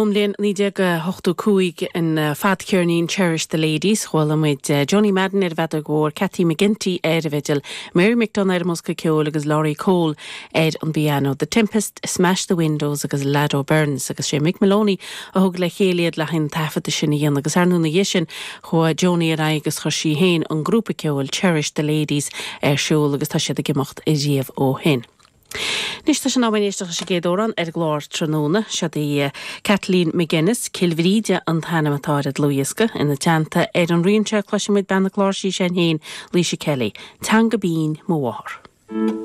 Ón mbliain 1985 an fadcheirnín Cherish the Ladies, chuala muid Joanie Madden ar an bhfeadóg mhór, Kathy McGinty ar an bhfidil, Mary McDonagh ar an mbosca ceoil agus Laurie Cole ar an bpianó. The Tempest, Smash the Windows agus Lado Burns agus sé Mick Moloney a thug le chéile iad le haghaidh an taifeadta sin a dhéanamh agus ar ndóigh ina dhiaidh sin chuaigh Joanie ar aghaidh agus chuir sí féin an grúpa ceoil Cherish the Ladies ar siúl agus tá siad ag imeacht ariamh ó shin. Anois tá sé in am againn éisteacht leis an gcéad amhrán ar an gclár tráthnóna. Seod í Kathleen McGuinness, Cill Bhríde an t-ainm atá ar an dlúthdhiosca. Ina teannta ar an rian seo cloisfidh muid bean na cláirsí sin féin, Laoise Kelly. Teanga Binn mo mháthar.